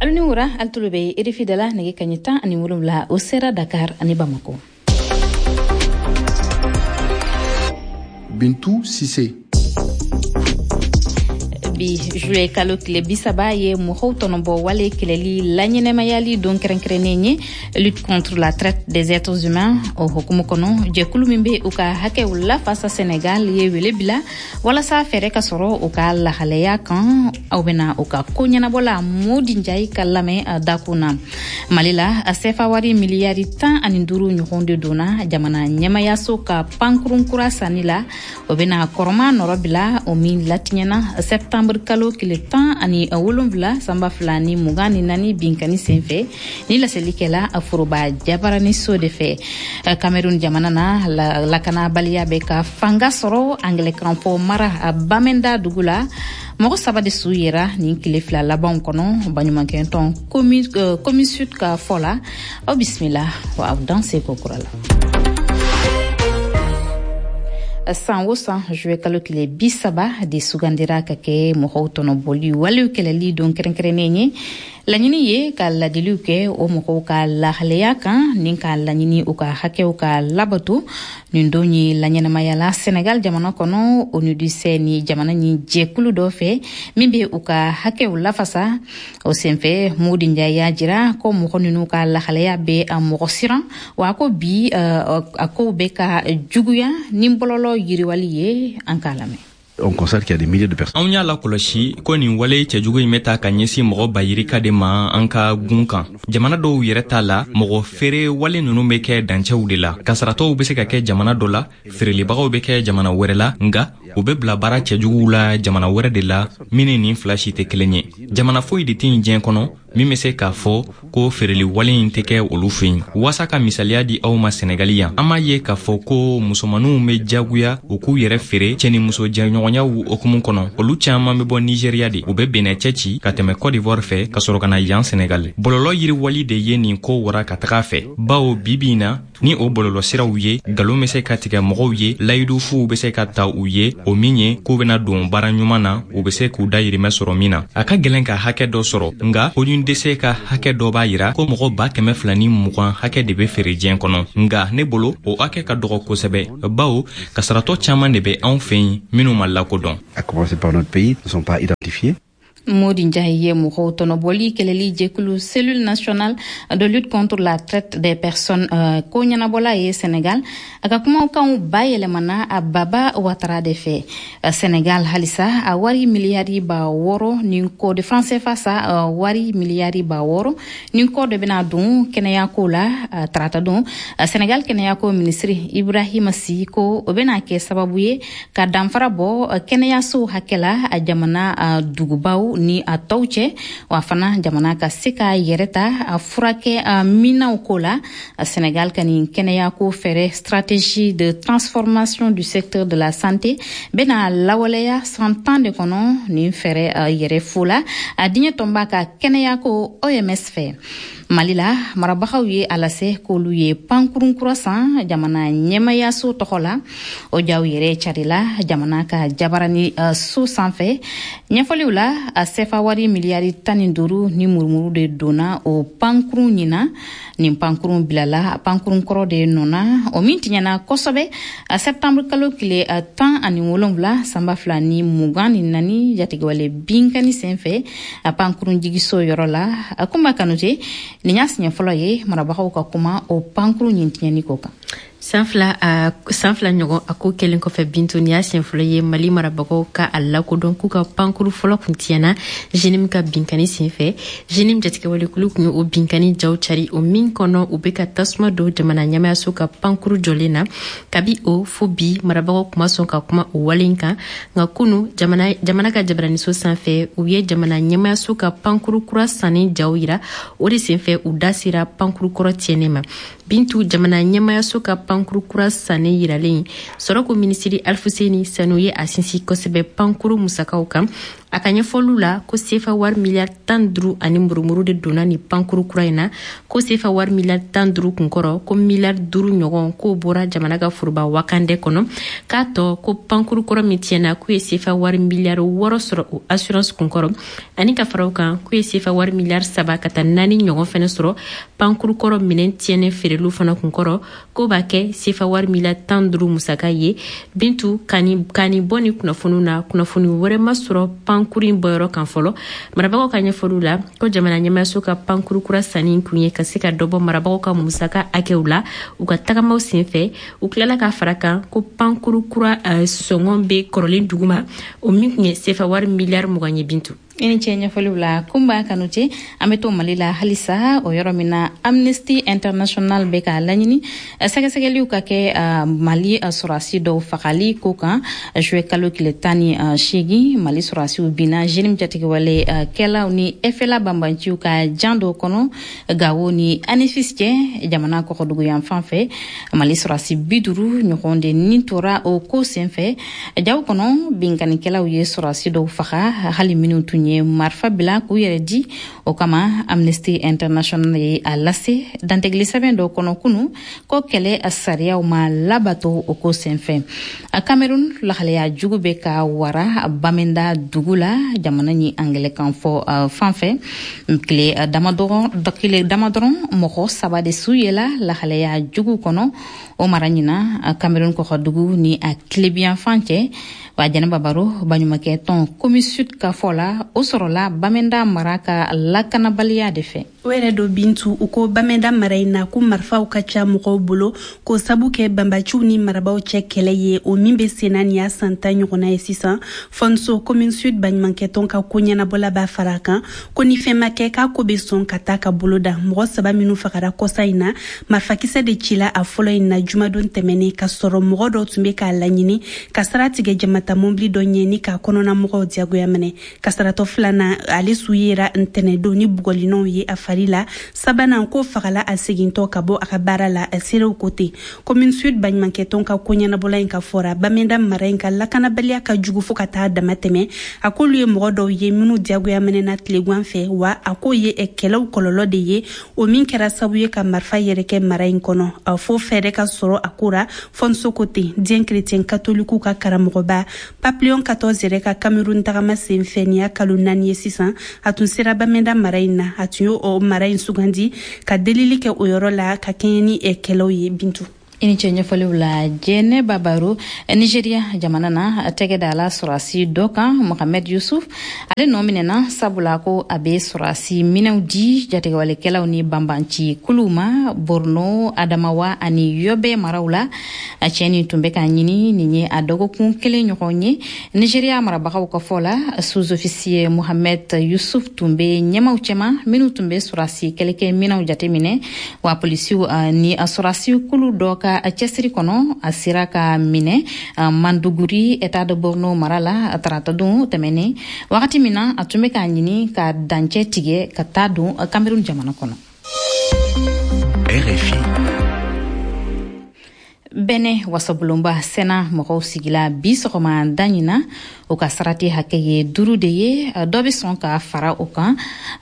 Alu ni wura, alu tulo bɛ RFI da la. Nɛgɛ kaɲɛ 17, o sera Dakar ani Bamako. Bintu Sise. Bi juillet kalo tile 30 ye mɔgɔw tɔnɔbɔ wale kɛlɛli laɲɛnɛmayali don kɛrɛnkɛrɛnnen ye, lutte contre la traite des êtres humains. O hukumu kɔnɔ, jɛkulu min bɛ u ka hakɛw lafasa Senegal ye wele bila walasa fɛɛrɛ ka sɔrɔ u ka lahalaya kan. Aw bɛna u ka ko ɲɛnabɔla Modi Njayi ka lamɛn dakun na. Mali la, sefa wari miliyari 15 ɲɔgɔn de donna jamana ɲɛmayaso ka pankurun kura sanni la. O bɛna kɔrɔma nɔrɔ bila, o min latiɲɛna septembre kalo tile 17 san 2024 binkani senfɛ. Ni laseli kɛla foroba jabaraniso de fɛ. Cameroun jamana na, lakanabaliya bɛ ka fanga sɔrɔ angilɛkan fɔ mara Bamenda dugu la. Mɔgɔ saba de su yera nin tile 2 labanw kɔnɔ, baɲumankɛtɔn Comisud ka fɔ la. Aw bisimila wa aw danse ko kura la. San o san, juillet kalo tile 30 de sugandira ka kɛ mɔgɔw tɔnɔbɔli walew kɛlɛli don kɛrɛnkɛrɛnnen ye. Laɲini ye ka ladiliw kɛ o mɔgɔw ka lahalaya kan ni k'a laɲini u ka hakɛw ka labato. Nin don ye laɲɛnamayala Senegal jamana kɔnɔ, ONUDC ni jamana ni jɛkulu dɔ fɛ min bɛ u ka hakɛw lafasa. O senfɛ, Modi Njaye y'a jira ko mɔgɔ ninnu ka lahalaya bɛ mɔgɔ siran, wa ko bi a kow bɛ ka juguya ni bɔlɔlɔ yiriwali ye. An k'a lamɛn. On constate qu'il y a des milliers de personnes. Anw y'a lakɔlɔsi ko nin wale cɛjugu in bɛ ta ka ɲɛsin mɔgɔ bayirika de ma an ka gun kan. Jamana dɔw yɛrɛ t'a la, mɔgɔ feere wale ninnu bɛ kɛ dancɛw de la. Kasaratɔw bɛ se ka kɛ jamana dɔ la, feerelibagaw bɛ kɛ jamana wɛrɛ la, nka u bɛ bila baara cɛjuguw la jamana wɛrɛ de la min ni nin fila si tɛ kelen ye. Jamana foyi de tɛ yen diɲɛ kɔnɔ min bɛ se k'a fɔ ko feereli wale in tɛ kɛ olu fɛ yen. Waasa ka misaliya di aw ma, Sɛnɛgali yan, an b'a ye k'a fɔ ko musomaninw bɛ jagoya u k'u yɛrɛ feere cɛ ni muso jɛɲɔgɔnyaw hukumu kɔnɔ. Olu caman bɛ bɔ Nizeriya de, u bɛ Benɛ cɛ ci ka tɛmɛ Côte d'Ivoire fɛ ka sɔrɔ ka na yan Sɛnɛgali. Bɔlɔlɔ yiriwali de ye nin ko wara ka taga a fɛ, bawo bi bi in na, ni o bɔlɔlɔsiraw ye, nkalon bɛ se ka tigɛ mɔgɔw ye, layidufuw bɛ se ka ta u ye, o min ye k'u bɛna don baara ɲuman na, u bɛ se k'u dayirimɛ sɔrɔ min na. A ka gɛlɛn ka hakɛ dɔ sɔrɔ, nka ONUDC ka hakɛ dɔ b'a yira ko mɔgɔ 220,000 hakɛ de bɛ feere diɲɛ kɔnɔ. Nka ne bolo, o hakɛ ka dɔgɔ kosɛbɛ, bawo kasaratɔ caman de bɛ anw fɛ yen minnu ma lakodɔn. À commencer par notre pays, ne sont pas identifiés. Modi Njaye ye mɔgɔw tɔnɔbɔli kɛlɛli jɛkulu Cellule nationale de lutte contre la traite des personnes ko ɲɛnabɔla ye Sénégal. A ka kumakanw bayɛlɛmana a Baba Watara de fɛ. Sénégal halisa, a wari miliyari 6000 ni kɔ de franc CFA sa, wari miliyari 6000 ni kɔ de bɛna don kɛnɛyako la tarata don. Sénégal kɛnɛyako minisiri Ibrahima Sy ko o bɛna kɛ sababu ye ka danfara bɔ kɛnɛyasow hakɛ la a jamana dugubaw ni a tɔw cɛ, wa fana jamana ka se k'a yɛrɛ ta a furakɛ minaw ko la. Sénégal ka nin kɛnɛyako fɛɛrɛ, stratégie de transformation du secteur de la santé, bɛna lawaleya san 10 de kɔnɔ. Nin fɛɛrɛ yɛrɛ fo la a diɲɛ tɔnba ka kɛnɛyako OMS fɛ. Mali la, marabagaw ye a lase k'olu ye pankurun kura san jamana ɲɛmayaso tɔgɔ la. O jaw yɛrɛ carila jamana ka jabarani so sanfɛ. Ɲɛfɔliw la, a sefa wari miliyari 15 ni murumuru de donna o pankurun ɲina. Nin pankurun bilala pankurun kɔrɔ de nɔna, o min tiɲɛna kosɛbɛ a septembre kalo tile 17 san 2024 jatigɛwale binkani senfɛ a pankurun jigiso yɔrɔ la. A Kunba Kanute, nin y'a siɲɛ fɔlɔ ye marabagaw ka kuma o pankurun ɲin tiɲɛni ko kan. San 2 ɲɔgɔn a ko kɛlen kɔfɛ, Bintu, nin y'a siɲɛ fɔlɔ ye Mali marabagaw ka a lakodɔn k'u ka pankuru fɔlɔ kun tiɲɛna JNIM ka binkani senfɛ. JNIM jatigɛwalekulu kun ye o binkani jaw cari, o min kɔnɔ u bɛ ka tasuma don jamana ɲɛmayaso ka pankuru jɔlen na. Kabi o fo bi, marabagaw kuma sɔn ka kuma o wale in kan. Nka kunu, jamana ka jabaraniso sanfɛ, u ye jamana ɲɛmayaso ka pankuru kura sanni jaw yira. O de senfɛ, u da sera pankuru kɔrɔ tiɲɛnen ma. Bintu, jamana ɲɛmayaso ka pankuru kura sanni yiralen, sɔrɔko minisiri Alifuseni Sanu ye a sinsin kosɛbɛ pankuru musakaw kan. A ka ɲɛfɔliw la, ko sefa wari miliyari 15 ani murumuru de donna ni pankuru kura in na, ko sefa wari miliyari 15 kunkɔrɔ, ko miliyari 5 ɲɔgɔn k'o bɔra jamana ka foroba wakandɛ kɔnɔ, k'a tɔ ko pankuru kɔrɔ min tiɲɛna, k'u ye sefa wari miliyari 6 sɔrɔ o assurance kunkɔrɔ, ani ka fara o kan, k'u ye sefa wari miliyari 3 ka taa 4 ɲɔgɔn fɛnɛ sɔrɔ pankuru kɔrɔ minɛn tiɲɛnen feereliw fana kunkɔrɔ, k'o b'a kɛ sefa wari miliyari 15 musaka ye. Bintu, ka nin bɔ ni kunnafoniw na, kunnafoni wɛrɛ ma sɔrɔ pankuru in bɔyɔrɔ kan fɔlɔ. Marabagaw ka ɲɛfɔliw la, ko jamana ɲɛmaayaso ka pankuru kura sanni kun ye ka se ka dɔ bɔ marabagaw ka musaka hakɛw la u ka tagamaw senfɛ. U tilala ka fara kan ko pankuru kura sɔngɔ bɛ kɔrɔlen duguma, o min kun ye sefa wari miliyari 20 ye. Bintu, I ni ce ɲɛfɔliw la. Kunba Kanute, an bɛ to Mali la halisa, o yɔrɔ min na Amnesty International bɛ k'a laɲini sɛgɛsɛgɛliw ka kɛ Mali sɔrɔdasi dɔw fagali ko kan. Juillet kalo tile 18, Mali sɔrɔdasiw binna JNIM jatigɛwale kɛlaw ni FLA banbanciw ka jan dɔw kɔnɔ Gawo ni Anefis cɛ, jamana kɔkɔdugu yan fan fɛ. Mali sɔrɔdasi 50 ɲɔgɔn de ni tora o ko senfɛ. Jaw kɔnɔ, binkannikɛlaw ye sɔrɔdasi dɔw faga, hali minnu tun ye marifa bila k'u yɛrɛ di. O kama, Amnesty International ye a lase dantigɛli sɛbɛn dɔ kɔnɔ kunu ko kɛlɛ sariyaw ma labato o ko senfɛ. Cameroun, lahalaya jugu bɛ ka wara Bamenda dugu la, jamana ni angilɛkan fɔ fan fɛ. Tile dama dɔrɔn, mɔgɔ 3 de su yela lahalaya jugu kɔnɔ o mara ɲina Cameroun kɔkɔdugu ni a tilebiyan fan cɛ. Wa Jɛnɛba Baro, baɲumankɛ tɔn COMISUD ka fɔ la, o sɔrɔla Bamenda mara ka lakanabaliya de fɛ. O yɛrɛ do Bintu, u ko Bamenda mara in na, ko marifaw ka ca mɔgɔw bolo, k'o sabu kɛ banbaciw ni marabaw cɛ kɛlɛ ye, o min bɛ senna nin y'a san 10 ɲɔgɔnna ye sisan. Fɔnso COMISUD baɲumankɛtɔn ka ko ɲɛnabɔla b'a fara a kan ko ni fɛn ma kɛ, k'a ko bɛ sɔn ka taa ka bolo da. Mɔgɔ 3 minnu fagara kɔsa in na, marifakisɛ de cila a fɔlɔ in na jumadon tɛmɛnen, ka sɔrɔ mɔgɔ dɔw tun bɛ k'a laɲini ka sira tigɛ jamata mɔbili dɔ ɲɛ ni k'a kɔnɔna mɔgɔw diyagoya minɛ. Kasaratɔ filanan, ale su yera ntɛnɛdon ni bugɔlinɔw ye a fari la. Sabanan, ko fagala a segintɔ ka bɔ a ka baara la, a seerew ko ten. COMISUD baɲumankɛtɔn ka ko ɲɛnabɔla in ka fɔra, Bamenda mara in ka lakanabaliya ka jugu fo ka taa dama tɛmɛ. A k'olu ye mɔgɔ dɔw ye minnu diyagoya minɛna tilegan fɛ, wa a k'o ye kɛlɛw kɔlɔlɔ de ye, o min kɛra sababu ye ka marifa yɛrɛ kɛ mara in kɔnɔ. A fo fɛɛrɛ ka sɔrɔ a ko ra. Fɔnso ko ten. Diɲɛ chrétien katoliku ka karamɔgɔba Pape Léon XIV yɛrɛ ka Cameroun tagama senfɛ nin y'a kalo 4 ye sisan, a tun sera Bamenda mara in na. A tun y'o mara in sugandi ka delili kɛ o yɔrɔ la ka kɛɲɛ ni kɛlɛw ye. Bintu, I ni ce ɲɛfɔliw la. Jɛnɛba Baro, Nigeria jamana na, tɛgɛ da la sɔrɔdasi dɔ kan, Mohamed Yusuf. Ale nɔ minɛna sabula ko a bɛ sɔrɔdasi minɛnw di jatigɛwalekɛlaw ni banbanci kuluw ma Borno, Adamawa ani Yobe maraw la. A cɛ nin tun bɛ ka ɲini nin ye a dɔgɔkun kelen ɲɔgɔn ye. Nigeria marabagaw ka fɔ la, sous-officier Mohamed Yusuf tun bɛ ɲɛmaw cɛma minnu tun bɛ sɔrɔdasi kɛlɛkɛ minɛnw jateminɛ. Wa polisiw ni sɔrɔdasi kulu dɔ ka a cɛsiri kɔnɔ, a sera ka minɛ Manduguri, état de Borno mara la, taratadon tɛmɛnen, wagati min na a tun bɛ k'a ɲini ka dancɛ tigɛ ka taa don Cameroun jamana kɔnɔ. RFI. Bɛnɛ wasabulonba Sénat mɔgɔw sigila bi sɔgɔma da ɲina. O ka sarati hakɛ ye 5 de ye, dɔ bɛ sɔn ka fara o kan.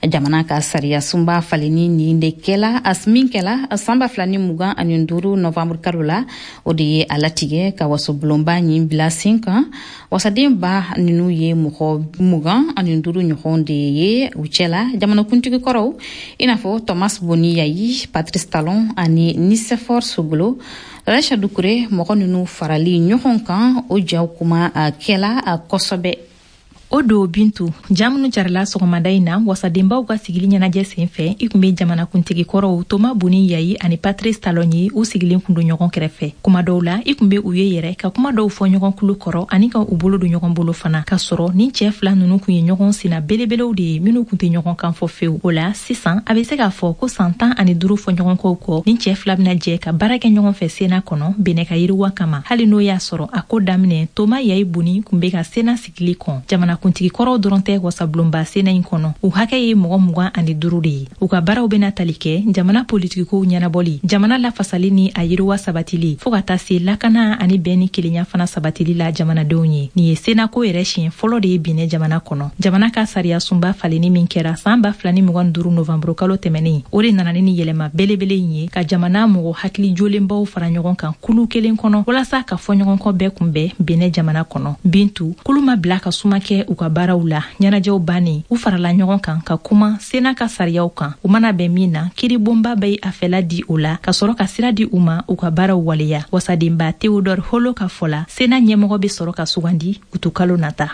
Jamana ka sariya sunba falenni nin de kɛla min kɛla san 2025 novembre kalo la, o de ye a latigɛ ka wasobulonba ɲin bila sen kan. Wasaden ba ninnu ye mɔgɔ 25 ɲɔgɔn de ye, u cɛla jamanakuntigi kɔrɔw i n'a fɔ Thomas Boni Yayi, Patrice Talon ani Nicéphore Soglo. Aisha Dukure, mɔgɔ ninnu farali ɲɔgɔn kan, o jaw kuma kɛla kosɛbɛ. O don Bintu, ja minnu carila sɔgɔmada in na wasadenbaw ka sigili ɲɛnajɛ sen fɛ, i kun be jamanakuntigi kɔrɔw Toma Boni Yayi ani Patrice Talon ye, u sigilen kun don ɲɔgɔn kɛrɛfɛ. Kuma dɔw la, i kun be u ye yɛrɛ ka kuma dɔw fɔ ɲɔgɔn kulu kɔrɔ ani ka u bolo don ɲɔgɔn bolo fana, k'a sɔrɔ nin cɛɛ fila nunu kun ye ɲɔgɔn sina belebelew de ye minnu kun tɛ ɲɔgɔn kan fɔ fewu. O la sisan, a be se k'a fɔ ko san 15 fɔ ɲɔgɔnkɔw kɔ, nin cɛɛ fila bena jɛ ka baara kɛ ɲɔgɔn fɛ Sénat kɔnɔ Benɛ ka yiriwa kama. Hali n'o y'a sɔrɔ a ko daminɛ, Toma Yayi Boni kun be ka Sénat sigili kɔn jamana Jamanakuntigi kɔrɔw dɔrɔn tɛ wasabulonba Sénat in kɔnɔ. U hakɛ ye mɔgɔ 25 de ye. U ka baaraw bɛna tali kɛ jamana politikikow ɲɛnabɔli, jamana lafasali ni a yiriwa sabatili, fɔɔ ka taa se lakana ani bɛn ni kelenya fana sabatili la jamanadenw ye. Nin ye Sénat ko yɛrɛ siɲɛ fɔlɔ de ye Benin jamana kɔnɔ. Jamana ka sariya sunba falenni min kɛra san 2025 novembre kalo tɛmɛnen, o de nana ni yɛlɛma belebele in ye ka jamana mɔgɔ hakili jolenbaw fara ɲɔgɔn kan kulu kelen kɔnɔ walasa ka fɔɲɔgɔnkɔ bɛɛ kunbɛn Benin jamana kɔnɔ. Bintu, kulu ma bila ka suma kɛ u ka baaraw la. Ɲɛnajɛw bannen, u farala ɲɔgɔn kan ka kuma Sénat ka sariyaw kan. U mana bɛn min na, kiiribonba bɛ a fɛla di o la ka sɔrɔ ka sira di u ma u ka baaraw waleya. Wasadenba Théodore Holo ka fɔ la, Sénat ɲɛmɔgɔ bɛ sɔrɔ ka sugandi utukalo nata.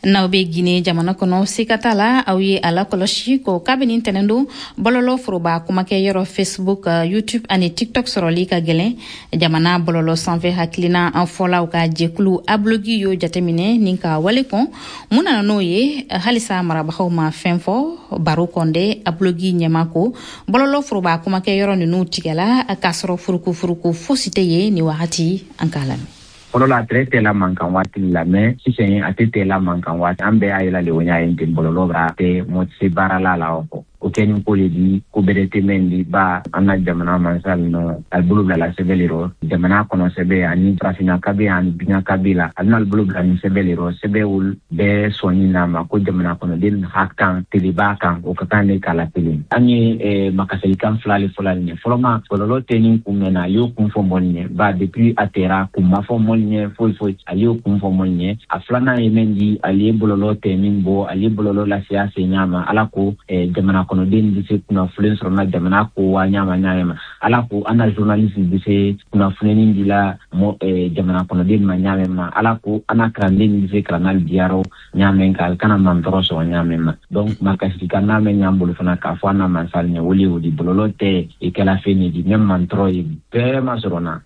N'aw bɛ Guinée jamana kɔnɔ, sika t'a la aw ye a lakɔlɔsi ko kabini tɛnɛn don, bɔlɔlɔ foroba kumakɛ yɔrɔ Facebook, YouTube ani TikTok sɔrɔli ka gɛlɛn. Jamana bɔlɔlɔ sanfɛ hakilina an fɔlaw ka jɛkulu Ablogui y'o jateminɛ ni ka wale kɔn. Mun nana n'o ye? Halisa marabagaw ma fɛn fɔ. Baro Kɔnde, Ablogui ɲɛma, ko bɔlɔlɔ foroba kumakɛ yɔrɔ ninnu tigɛla k'a sɔrɔ furukufuruku fosi tɛ yen ni wagati. An k'a lamɛn. Fɔlɔ la, a tɛrɛ tɛ la mankan waati la, mais sisan a tɛ tɛ la mankan waati. An bɛɛ y'a yela le o ɲa ye ten, bɔlɔlɔ bara tɛ mɔ tɛ se baara la la o kɔ. O kɛ ni ko le di, ko bɛrɛ tɛ mɛn di ba an na jamana mansa nɔ ali bolo bila la sɛbɛ le rɔ, jamana kɔnɔ sɛbɛ ani farafinna kabe ani duɲa kabe la. Ali n'ali bolo bila ni sɛbɛ le rɔ, sɛbɛ bɛɛ sɔnni n'a ma ko jamana kɔnɔden ha kan teleba kan, o ka kan ne k'a la kelen. An ye makasalikan fila le fɔla nin ye. Fɔlɔma, bɔlɔlɔ tɛ ni kun mɛn na, a y'o kun fɔ mɔli ɲɛ ba depuis a tɛra kun ma fɔ mɔli ɲɛ foyi foyi, a y'o kun fɔ mɔli ɲɛ. A filanan ye mɛn di, ale ye bɔlɔlɔ tɛ min bɔ, ale ye bɔlɔlɔ lase a se ɲa ma. Ala ko jamana kɔnɔden bɛ se kunnafoni sɔrɔ na jamana ko wa ɲama ɲama. Ala ko an na journaliste bɛ se kunnafoni di la jamana kɔnɔden ma ɲamɛ ma. Ala ko an na kalanden bɛ se kalanali diyarɔ ɲamɛ kan, ali kana mantɔrɔ sɔrɔ ɲamɛ ma. Donc makasika n'a mɛn ɲ'an bolo fana k'a fɔ an na mansali ɲɛ, wele o di bɔlɔlɔ tɛ i kɛla fɛn ne di mɛ mantɔrɔ ye bɛɛ ma sɔrɔ na.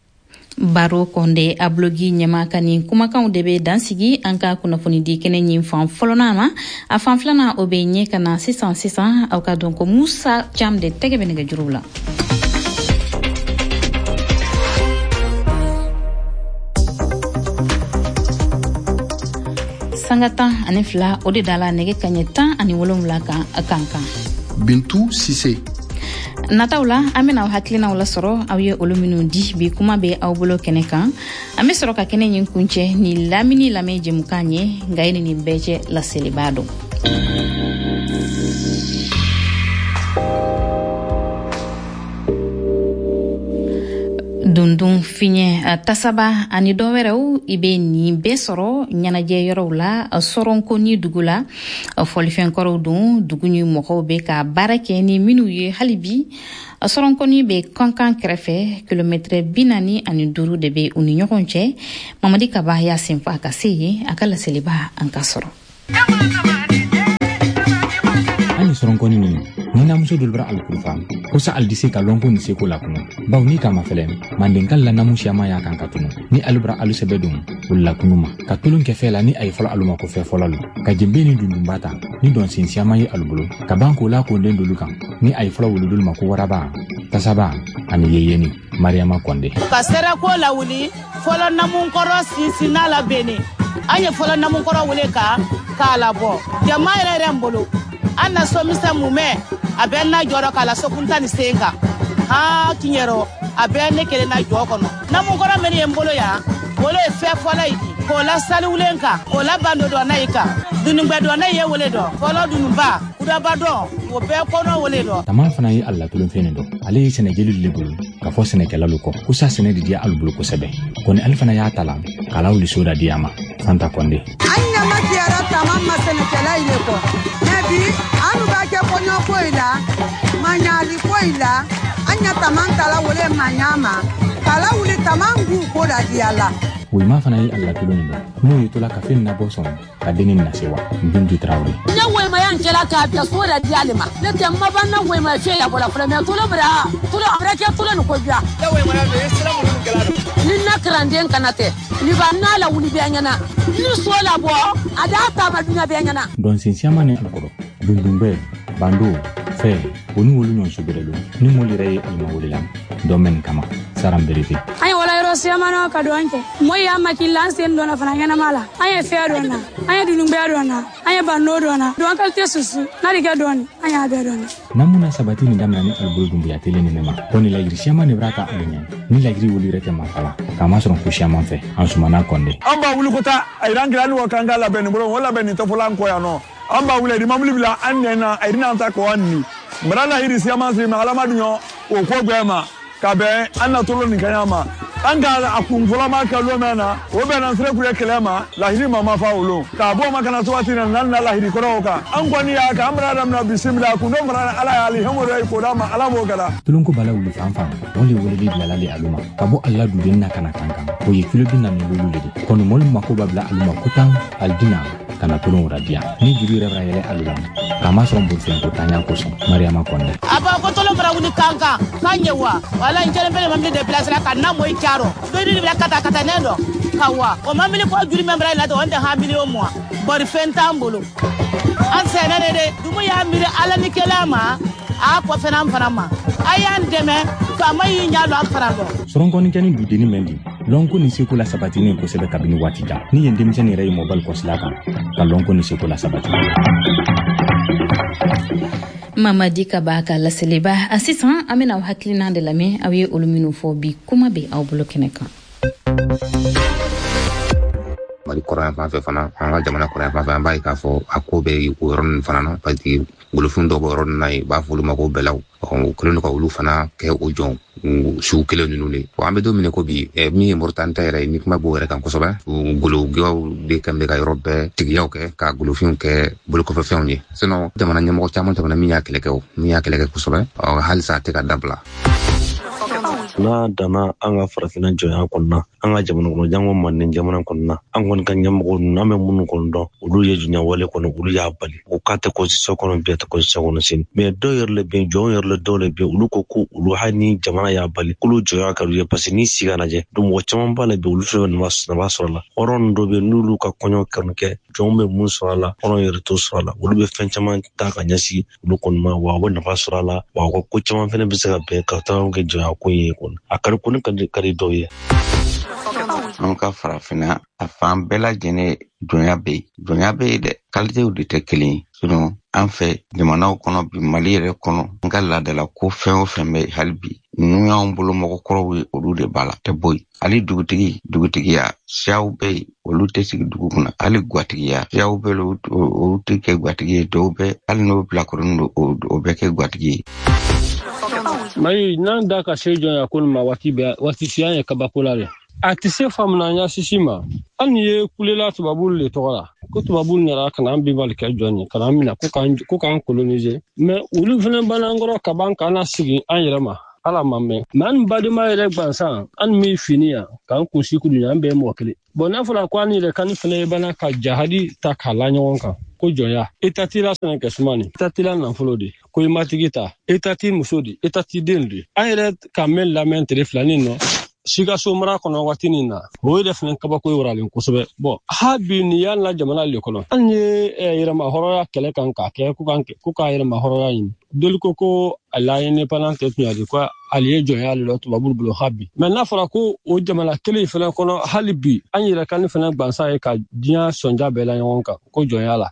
Baro Kɔnde, Ablogui ɲɛma ka nin kumakanw de bɛ dansigi an ka kunnafonidi kɛnɛ ɲin fan fɔlɔnan ma. A fan filanan, o bɛ ɲɛ ka na sisan sisan. Aw ka dɔn ko Musa Cam de tɛgɛ bɛ nɛgɛjuruw la. Sanga 12 o de dala nɛgɛ kaɲɛ 17 kan kan kan. Bintu Sise. Nataw la, an bena aw hakilinaw lasɔrɔ, aw ye olu minw di bi kuma bɛ aw bolo kɛnɛ kan. An be sɔrɔ ka kɛnɛ ɲin kuncɛ ni lamini lamɛn jɛmukan ye. Nka ye ni nin bɛɛ cɛ, laseliba don. Dundun, fiɲɛ, tasaba ani dɔ wɛrɛw, i be nin bɛɛ sɔrɔ ɲɛnajɛ yɔrɔw la Sɔrɔnkoni dugu la. Fɔlifɛn kɔrɔw don, dugu ni mɔgɔw bɛ ka baara kɛ ni minw ye hali bi. Sɔrɔnkoni bɛ Kankan kɛrɛfɛ, kilomɛtɛrɛ 45 de bɛ u ni ɲɔgɔn cɛ. Mamadi Kaba y'a senfa ka se yen, a ka laseliba, an ka sɔrɔ. An ni sɔrɔnkɔni nin ni namuso dolu bara alikurufa ko sa ali di se ka lɔnko ni seko la kunu, bawo ni kama fɛlɛ mandenkal la namu siyama y'a kan ka tunu ni alu bara alu sɛbɛ don olu la kunu ma ka tolon kɛ fɛ la ni a ye fɔlɔ alu ma ko fɛ fɔlɔ lo ka jenbe ni dundunba ta ni dɔnsen siyama ye alu bolo ka ban k'o la konden dolu kan ni a ye fɔlɔ wulu dolu ma ko waraba, tasaba ani yeyeni. Mariama Kɔnde. Ka sɛrɛko lawuli fɔlɔ namunkɔrɔ sinsinna la Bene. An ye fɔlɔ namunkɔrɔ wele ka k'a labɔ jama yɛrɛ yɛrɛ n bolo. An na somisɛn mumɛ a bɛ na jɔrɔ k'a la sokunta ni sen kan han tiɲɛrɔ, a bɛ ne kelen na jɔ kɔnɔ. Namunkɔrɔ min ye n bolo yan, wolo ye fɛn fɔlɔ ye k'o la saliwulen kan, k'o la bando dɔnna yi kan, dunungbɛ dɔnna ye wele dɔn fɔlɔ, dununba kudaba dɔn, o bɛɛ kɔnɔ wele dɔn. Tama fana ye alatolonfɛn nin dɔn. Ale ye sɛnɛjeli le bolo ka fɔ sɛnɛkɛlalu kɔ ko sa sɛnɛ de diya alu bolo kosɛbɛ. Kɔni ale fana y'a ta la k'a la wuli so da di a ma. Fanta Kɔnde. An ɲama kiyara tama ma sɛnɛkɛla yi le kɔ, mɛ bi anu b'a kɛ kɔɲɔ ko yi la, maɲali ko yi la. An ɲa tama tala wele maɲa ma k'a la wuli tama k'u ko la diya la. Woyima fana ye alatolon nin dɔn n'o ye tola ka fen nabɔ sɔn ka denni nasewa. Bintu Tarawele. Ne woyima yan kɛla k'a bila so da di ale ma. Ne tɛ ma ban na woyima fɛ ya bɔra fɔlɔ, mɛ tolo bira tolo a bɛrɛ kɛ tolo ni ko biya. Ne woyima ya ye sira minnu kɛla dɔn. Ni na karanden kana tɛ ni ba n'a la wuli bɛɛ ɲɛna ni so la bɔ a d'a taama dunya bɛɛ ɲɛna. Dɔnsen siyaman ni alukɔrɔ dundunbɛ bando fɛ o ni wolu ɲɔgɔn sobɛrɛ lo ni mɔli yɛrɛ ye alima wele la dɔn mɛn kama saran berete. An ye wala yɔrɔ. dɔ siyamana ka dɔn kɛ. Mɔ y'a makila an sen dɔnna fana ɲɛnama la. An ye fɛn dɔn na, an ye dunungbɛ dɔn na, an ye banno dɔn na. Dɔn kalite susu, n'a de kɛ dɔɔni, an y'a bɛɛ dɔn na. Namuna sabati ni damina ni alubolo dumbuya telen ni ne ma. Ko ni lagiri siyaman de b'a ta alu ɲɛ. Ni lagiri wuli yɛrɛ tɛ marifa la. K'a masɔrɔ ko siyaman fɛ. An sumana kɔnde. An b'a wuli ko taa a yiran kira ni wa kan ka labɛn nin bolo, o labɛn nin tɛ fɔla an kɔ yan nɔ. An b'a wuli mabili bila an nɛ na, a yiran ta kɔ an ni. Mara la yiri siyaman siri ma alama dun o ko gbɛ ma. Ka bɛn an na tolo nin kaɲa ma. An ka a kun fɔlɔ ma kɛ lon mɛn na, o bɛnna sira kure kɛlɛ ma, lahiri ma ma fa o lon. K'a bɔ ma kana se waati na, n'an na lahiri kɔrɔw kan. An kɔni y'a kan, an bɛna daminɛ bisimila, kun dɔ fana Ala y'ale hɛmɔrɔ ye ko d'a ma, Ala b'o kɛra. Tulonko bala wuli fan fan, o le weleli bilala le alu ma. Ka bɔ ala duden na kana kan kan. O ye kilo 45 le di. Kɔni mɔlu mako b'a bila alu ma ko tan alidina kana tulon wara diya. Ni juru yɛrɛ bɛna yɛlɛ alu la, k'a masɔrɔ bolifɛn ko tanya kosɔn. Mariama Kɔnde. A b'a ko tolon bara wuli kan kan, k'a ɲɛ wa. Wala n kelen bɛlɛ mabili de place la ka na mɔ i caro. Dɔ ni bila kata kata ne dɔ. Ka wa. O mabili ko juru mɛn bara la dɔ, o tɛ ha miliyɔn mugan. Bari fɛn t'an bolo. An sɛnɛ de dɛ. Dumu y'a miiri Ala ni kɛlɛ ma, a kɔfɛ n'an fana ma. A y'an dɛmɛ, faama y'i ɲɛ don an fana dɔn. Sɔrɔnkɔni kɛ ni dudenni mɛn di. Lɔnko ni seko la sabatinen kosɛbɛ kabini waati jan. Ni yen denmisɛnnin yɛrɛ ye mɔbali kɔsila kan, ka lɔnko ni seko la sabati. Mamadi Kaba ka laseliba. A sisan an bɛna aw hakilina de lamɛn, aw ye olu minnu fɔ bi kuma bɛ aw bolo kɛnɛ kan. Mali kɔrɔ fan fɛ fana, an ka jamana kɔrɔ fan fɛ, an b'a ye k'a fɔ a ko bɛ o yɔrɔ ninnu fana na, parce que golofin dɔw bɛ yɔrɔ ninnu na yen, u b'a fɔ olu ma ko bɛlaw. U kɛlen don ka olu fana kɛ o jɔn sugu kelen ninnu de. An bɛ don min ko bi, min ye Moritani ta yɛrɛ ye, ni kuma b'o yɛrɛ kan kosɛbɛ, gologɛw de kan bɛ ka yɔrɔ bɛɛ tigiyaw kɛ ka golofinw kɛ bolokɔfɛfɛnw ye. Sinon jamana ɲɛmɔgɔ caman tɛmɛna min y'a kɛlɛ kɛ, min y'a kɛlɛ kɛ kosɛbɛ, halisa a tɛ ka dabila. N'a danna an ka farafinna jɔnya kɔnɔna, an ka jamana kɔnɔ, jango Manden jamana kɔnɔna, an kɔni ka ɲɛmɔgɔ ninnu, an bɛ minnu kɔni dɔn, olu ye jɔnya wale kɔni, olu y'a bali. O k'a tɛ constitution kɔnɔ bi, a tɛ constitution kɔnɔ sini. Mais dɔw yɛrɛ le bɛ yen, jɔnw yɛrɛ le dɔw le bɛ yen, olu ko ko olu hali ni jamana y'a bali, k'olu jɔnya ka d'u ye, parce que n'i sigi ka lajɛ, donc mɔgɔ caman b'a la bi, olu fɛnɛ bɛ nafa sɔrɔ a la. Hɔrɔn dɔw bɛ yen, n'olu ka kɔɲɔ kɛnɛ kɛ, jɔnw bɛ mun sɔrɔ a la, hɔrɔn yɛrɛ t'o sɔrɔ a la. Olu bɛ fɛn caman ta ka ɲɛsin olu kɔni ma, wa u bɛ nafa sɔrɔ a la, wa u ka ko caman fɛnɛ bɛ se ka bɛn ka taa kɛ jɔnya ko ye kɔni. A kari ko ne ka di dɔw ye. An ka farafinna a fan bɛɛ lajɛlen jɔnya bɛ yen, jɔnya bɛ yen dɛ, kalitew de tɛ kelen ye. Sinon an fɛ jamanaw kɔnɔ bi, Mali yɛrɛ kɔnɔ, an ka laadala ko fɛn o fɛn bɛ hali bi, ninnu y'anw bolo mɔgɔkɔrɔw ye, olu de b'a la, tɛ bɔ yen. Hali dugutigi, dugutigiya siyaw bɛ yen, olu tɛ sigi dugu kunna. Hali gwatigiya siyaw bɛ yen, olu tɛ kɛ gwatigi ye. Dɔw bɛ hali n'o bilakoronin don, o bɛ kɛ gwatigi ye. Mali n'an da ka se jɔnya ko ma waati bɛɛ, waati si an ye kabako la dɛ. A tɛ se faamuya sisi ma. Hali n'i ye kulela tubabulu le tɔgɔ la, ko tubabulu nana ka na an binbali kɛ jɔn ye, ka na an minɛ ko k'an coloniser. Mais olu fana b'an kɔrɔ ka ban k'an lasigi an yɛrɛ ma. Ala ma mɛn. Mais an badenma yɛrɛ gansan, an min fini yan, k'an kunsi kudu yan, an bɛɛ ye mɔgɔ kelen. Bon n'a fɔra ko an yɛrɛ kan fana ye bana ka jahadi ta k'a la ɲɔgɔn kan, ko jɔnya. État t'i la sɛnɛ kɛ suma ni, État t'i la nafolo de, ko i matigi ta, État t'i muso de, État t'i den de. An yɛrɛ ka mɛn lamɛn tile filanin nɔ, Sikaso mara kɔnɔ waati nin na, o yɛrɛ fana kabako ye waralen kosɛbɛ. Bon ha bi nin y'an la jamana le kɔnɔ, an ye yɛrɛma hɔrɔnya kɛlɛ kan k'a kɛ ko k'a yɛrɛma hɔrɔnya ɲini. Dɔli ko a la indépendance tɛ tun y'a ko ale ye jɔnya le la tubabu bolo ha bi. Mais n'a fɔra ko o jamana kelen fana kɔnɔ hali bi an yɛrɛ kan fana gansan ye ka diɲɛ sɔnja bɛɛ la ɲɔgɔn kan ko jɔnya la.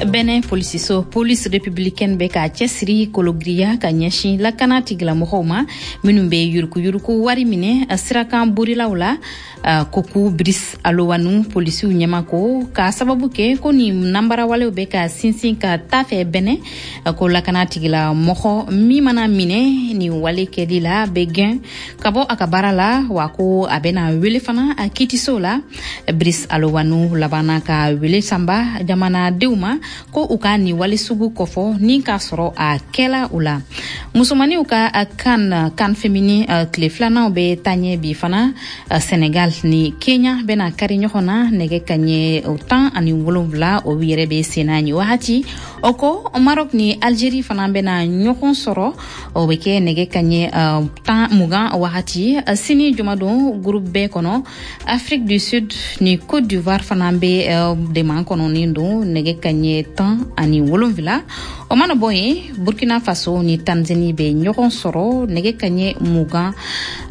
Benin polisiso police républicaine bɛ k'a cɛsiri kologiriya ka ɲɛsin lakana tigilamɔgɔw ma minnu bɛ yurukuyuruku wari minɛ sirakan borilaw la. Koku Brice Alowanu polisiw ɲɛma ko k'a sababu kɛ ko nin nanbarawalew bɛ ka sinsin ka taa fɛ Benin, ko lakana tigilamɔgɔ min mana minɛ nin wale kɛli la bɛ gɛn ka bɔ a ka baara la, wa ko a bɛna wele fana a kiitiso la. Brice Alowanu labanna ka wele sanba jamanadenw ma ko u ka nin wale sugu kɔfɔ ni k'a sɔrɔ a kɛla u la. Musomaninw ka kan féminin tile filananw bɛ taa ɲɛ bi fana. Senegal ni Kenya bɛna kari ɲɔgɔn na nɛgɛ kaɲɛ 17, o yɛrɛ bɛ senna nin wagati. O kɔ Maroc ni Algérie fana bɛna ɲɔgɔn sɔrɔ, o bɛ kɛ nɛgɛ kaɲɛ 20 wagati. Sini jumadon groupe B kɔnɔ, Afrique du Sud ni Côte d'Ivoire fana bɛ dɛmɛ kɔnɔnin don nɛgɛ kaɲɛ 17. O mana bɔ yen, Burkina Faso ni Tanzanie bɛ ɲɔgɔn sɔrɔ nɛgɛ kaɲɛ 20.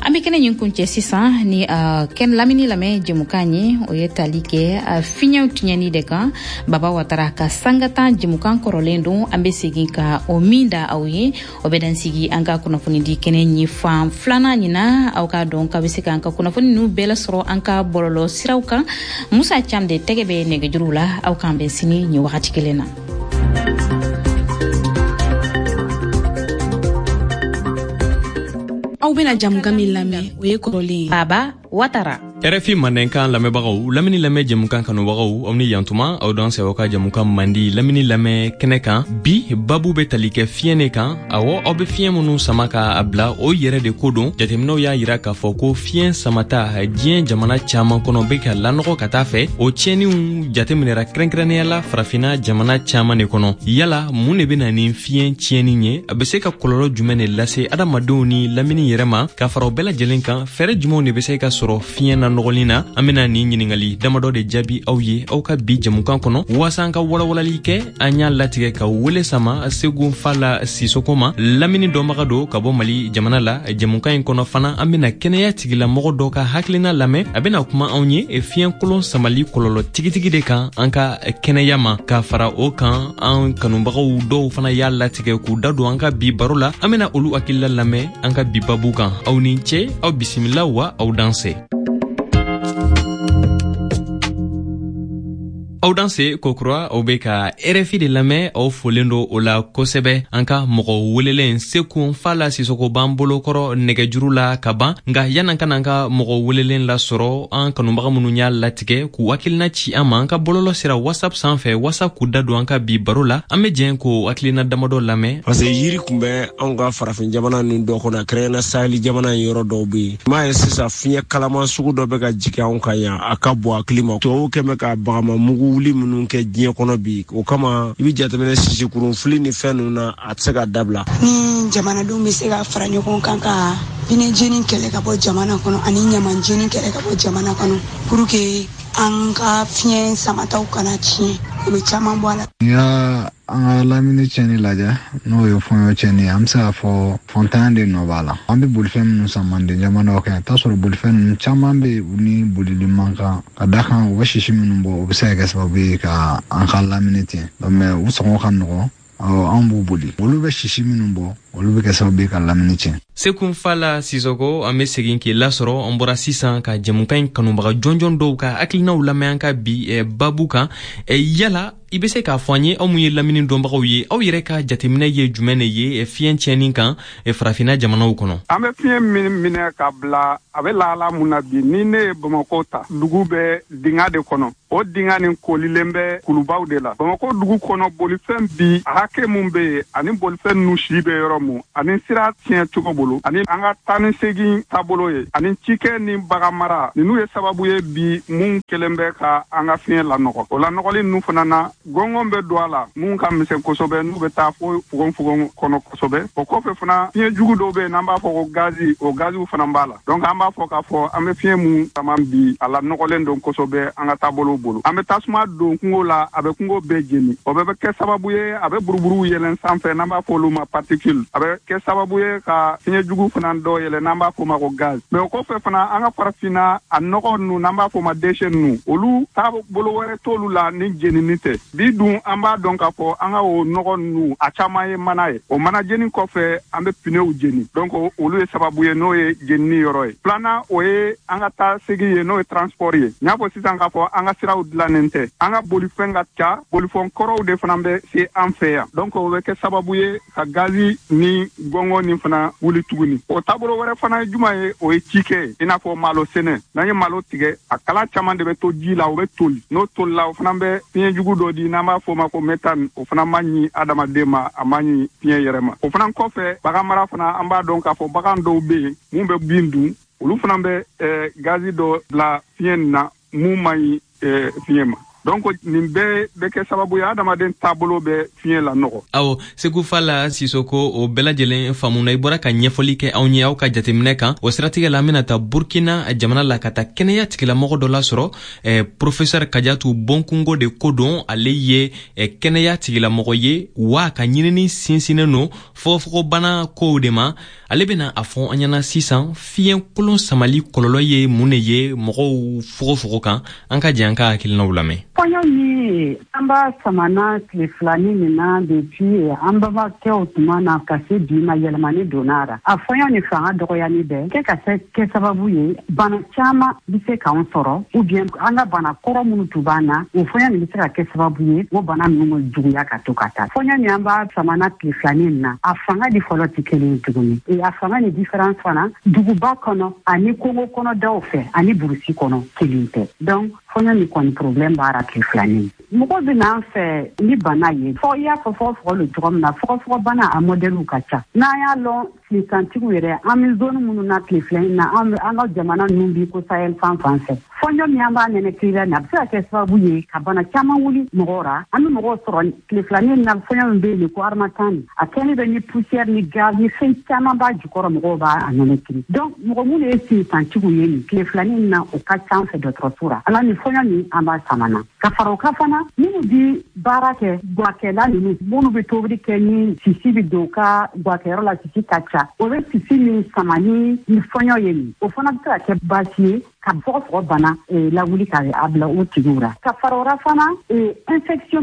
An bɛ kɛnɛ ɲin kuncɛ sisan ni kɛnɛ lamini lamɛn jɛmukan ye, o ye tali kɛ fiɲɛw tiɲɛni de kan. Baba Watara ka sanga 10 jɛmukan kɔrɔlen don, an bɛ segin ka o min da aw ye. O bɛ dan sigi an ka kunnafonidi kɛnɛ ɲi fan filanan ɲina. Aw k'a dɔn k'a bɛ se k'an ka kunnafoni ninnu bɛɛ lasɔrɔ an ka bɔlɔlɔ siraw kan. Musa Cam de tɛgɛ bɛ nɛgɛjuruw la. Aw k'an bɛn sini nin wagati kelen na. Aw bɛna jamukan min lamɛn, o ye kɔrɔlen ye. Baba Watara. RFI Mandenkan lamɛnbagaw, lamini lamɛn jɛmukan kanubagaw, aw ni yantuma. Aw dan sɛbɛ ka jɛmukan mandi lamini lamɛn kɛnɛ kan. Bi babu bɛ tali kɛ fiɲɛ de kan. Awɔ, aw bɛ fiɲɛ minnu sama ka a bila, o yɛrɛ de ko don. Jateminɛw y'a yira k'a fɔ ko fiɲɛ samata diɲɛ jamana caman kɔnɔ bɛ ka lanɔgɔ ka taa fɛ. O tiɲɛniw jateminɛra kɛrɛnkɛrɛnnenya la farafinna jamana caman de kɔnɔ. Yala mun de bɛ na ni fiɲɛ tiɲɛni ye? A bɛ se ka kɔlɔlɔ jumɛn de lase adamadenw ni lamini yɛrɛ ma? Ka fara o bɛɛ lajɛlen kan, fɛɛrɛ jumɛnw de bɛ se ka sɔrɔ fiɲɛ na nɔgɔlin na? An bena nin ɲiningali damadɔ de jaabi aw ye aw ka bi jɛmukan kɔnɔ. Waasa an ka walawalali kɛ, an y'a latigɛ ka wele sama Segu Fala Sisoko ma, lamini dɔnbaga don ka bɔ Mali jamana la. Jɛmukan in kɔnɔ fana, an bena kɛnɛya tigilamɔgɔ dɔ ka hakilina lamɛn. A bena kuma anw ye fiɲɛ kolon samali kɔlɔlɔ tigitigi de kan an ka kɛnɛya ma. Ka fara o kan, an kanubagaw dɔw fana y'a latigɛ k'u da don an ka bi baro la. An bena olu hakilila lamɛn an ka bi babu kan. Aw ni ce, aw bisimila wa aw danse. Aw danse kokura, aw be ka RFI de lamɛn. Aw folen do o la kosɛbɛ. An ka mɔgɔ welelen Seku Fala Sisoko b'an bolokɔrɔ nɛgɛjuru la ka ban. Nka yan'an ka n'an ka mɔgɔ welelen lasɔrɔ, an kanubaga minnu y'a latigɛ k'u hakilina ci an ma an ka bɔlɔlɔ sira WhatsApp sanfɛ waasa k'u da don an ka bi baro la, an be jɛn k'o hakilina damadɔ lamɛn. Parce que yiri kun bɛ anw ka farafin jamana ninnu dɔ kɔnɔ, kɛrɛnkɛrɛnnenya saheli jamana in yɔrɔ dɔw bɛ yen. I m'a ye sisan fiɲɛ kalaman sugu dɔ bɛ ka jigin anw kan yan, a ka bon hakili ma. Tubabuw kɛn bɛ ka bagama mugu wuli minnu kɛ diɲɛ kɔnɔ bi, o kama i bɛ jateminɛ sisikurun fili ni fɛn ninnu na, a tɛ se ka dabila. Ni jamanadenw bɛ se ka fara ɲɔgɔn kan ka pinɛ jeni kɛlɛ ka bɔ jamana kɔnɔ ani ɲaman jeni kɛlɛ ka bɔ jamana kɔnɔ, pour que an ka fiɲɛ samataw kana tiɲɛ, o bɛ caman bɔ a la. N'i y'a an ka lamini tiɲɛni lajɛ, n'o ye fɔɲɔ tiɲɛni ye, an bɛ se k'a fɔ fɔntanya de nɔ b'a la. An bɛ bolifɛn minnu san manden jamanaw kan, i t'a sɔrɔ bolifɛn ninnu caman bɛ yen, u ni bolili man kan. Ka da kan, u bɛ sisi minnu bɔ, o bɛ se ka kɛ sababu ye ka an ka lamini tiɲɛ. Mais u sɔngɔ ka nɔgɔn, an b'u boli. Olu bɛ sisi minnu bɔ, olu bɛ kɛ sababu ye ka lamini tiɲɛ. Seku Fala Sisoko, an bɛ segin k'i lasɔrɔ. An bɔra sisan ka jɛmukan in kanubaga jɔnjɔn dɔw ka hakilinaw lamɛn an ka bi babu kan. Yala i bɛ se k'a fɔ an ye, aw mun ye lamini dɔnbagaw ye, aw yɛrɛ ka jateminɛ ye jumɛn de ye fiɲɛ tiɲɛni kan farafinna jamanaw kɔnɔ? An bɛ fiɲɛ min minɛ ka bila, a bɛ lahala mun na bi, ni ne ye Bamakɔ ta, dugu bɛ dinga de kɔnɔ. O dinga nin kolilen bɛ kulubaw de la. Bamakɔ dugu kɔnɔ, bolifɛn bi a hakɛ mun bɛ yen, ani bolifɛn ninnu si bɛ yɔrɔ mun, ani sira tiɲɛ cogo bolo, ani an ka taa ni segin taabolo ye, ani cikɛ ni bagan mara, ninnu ye sababu ye bi mun kelen bɛ ka an ka fiɲɛ lanɔgɔ. O lanɔgɔli ninnu fana na, gɔngɔn bɛ don a la mun ka misɛn kosɛbɛ, n'u bɛ taa fo fogonfogon kɔnɔ kosɛbɛ. O kɔfɛ fana, fiɲɛ jugu dɔw bɛ yen n'an b'a fɔ ko gazi, o gaziw fana b'a la. Donc an b'a fɔ k'a fɔ an bɛ fiɲɛ mun sama bi, a lanɔgɔlen don kosɛbɛ an ka taabolo bolo. An bɛ tasuma don kungo la, a bɛ kungo bɛɛ jeni. O bɛɛ bɛ kɛ sababu ye, a bɛ buruburuw yɛlɛn sanfɛ n'an b'a fɔ olu ma particule. A bɛ kɛ sababu ye ka fiɲɛ jugu fana dɔ yɛlɛn n'an b'a fɔ o ma ko gaz. Mais o kɔfɛ fana, an ka farafinna a nɔgɔ ninnu n'an b'a fɔ o ma déchet ninnu, olu taabolo wɛrɛ t'olu la ni jenini tɛ. Bi dun an b'a dɔn k'a fɔ an ka o nɔgɔ ninnu a caman ye mana ye. O mana jeni kɔfɛ, an bɛ pneuw jeni. Donc olu ye sababu ye, n'o ye jenini yɔrɔ ye. Filanan, o ye an ka taa segin ye, n'o ye transport ye. N y'a fɔ sisan k'a fɔ an ka siraw dilannen tɛ, an ka bolifɛn ka ca, bolifɛn kɔrɔw de fana bɛ se an fɛ yan. Donc o bɛ kɛ sababu ye ka gazi ni gɔngɔn nin fana wuli tuguni. O taabolo wɛrɛ fana ye jumɛn ye? O ye cikɛ ye, i n'a fɔ malo sɛnɛ. N'an ye malo tigɛ, a kala caman de bɛ to ji la, o bɛ toli. N'o tolila, o fana bɛ fiɲɛ jugu dɔ di n'an b'a fɔ o ma ko méthane. O fana man ɲi adamaden ma, a man ɲi fiɲɛ yɛrɛ ma. O fana kɔfɛ, bagan mara fana, an b'a dɔn k'a fɔ bagan dɔw bɛ yen mun bɛ bin dun, olu fana bɛ gazi dɔ bila fiɲɛ nin na mun man ɲi fiɲɛ ma. Donc nin bɛɛ bɛ kɛ sababu ye adamaden taabolo bɛ fiɲɛ lanɔgɔ. Awɔ, Segu Fala Sisoko, o bɛɛ lajɛlen faamuna. I bɔra ka ɲɛfɔli kɛ anw ye aw ka jateminɛ kan. O siratigɛ la, an bɛna taa Burkina jamana la ka taa kɛnɛya tigilamɔgɔ dɔ lasɔrɔ, professeur Kajatu Bonkungo de ko don. Ale ye kɛnɛya tigilamɔgɔ ye wa a ka ɲinini sinsinnen don fɔgɔfɔgɔbana kow de ma. Ale bɛna a fɔ an ɲɛna sisan, fiɲɛ kolon samali kɔlɔlɔ ye mun de ye mɔgɔw fogofogo kan. An ka jɛ an ka hakilinaw lamɛn. Fɔɲɔ min an b'a samana tile filani nin na, depuis an babakɛw tuma na ka se bi ma, yɛlɛmani donna a ra. A fɔɲɔ ni fanga dɔgɔyani bɛ kɛ ka se kɛ sababu ye, bana caman bɛ se k'an sɔrɔ, ou bien an ka bana kɔrɔ minnu tun b'an na, o fɔɲɔ nin bɛ se ka kɛ sababu ye o bana ninnu bɛ juguya ka to ka taa. Fɔɲɔ min an b'a samana tile filani nin na, a fanga di fɔlɔ tɛ kelen ye tuguni. A fanga ni différence fana, duguba kɔnɔ ani kungo kɔnɔ daw fɛ ani burusi kɔnɔ, kelen tɛ. Donc fɔɲɔ nin kɔni, problème b'a ra tile filani. Mɔgɔ bɛ n'an fɛ ni bana ye, fɔ i y'a fɔ fɔgɔfɔgɔ lo cogo min na, fɔgɔfɔgɔ bana a modèlew ka ca. N'an y'a lɔn, tilesantigiw yɛrɛ, an bɛ zone minnu na tile fila in na, an ka jamana ninnu bi ko Sahel fan fan fɛ, fɔɲɔ min an b'a nɛnɛkili la nin, a bɛ se ka kɛ sababu ye ka bana caman wuli mɔgɔw ra. An bɛ mɔgɔw sɔrɔ tile filanin na, fɔɲɔ min bɛ yen ko harmattan nin, a kɛlen bɛ ni poussière ni gaz ni fɛn caman b'a jukɔrɔ, mɔgɔw b'a nɛnɛkili. Donc mɔgɔ minnu ye sinsantigiw ye nin tile filanin na, o ka ca an fɛ dɔgɔtɔrɔso ra. Ala ni fɔɲɔ min an b'a samana. Ka fara o kan fana, minnu bi baara kɛ, gwakɛla ninnu, minnu bɛ tobili kɛ ni sisi bɛ don u ka gwakɛyɔrɔ la, sisi ka ca, o bɛ sisi min sama ni fɔɲɔ ye nin, o fana bɛ se ka kɛ baasi ye ka fɔgɔfɔgɔ bana lawuli ka a bila o tigiw ra. Ka fara o ra fana, infection.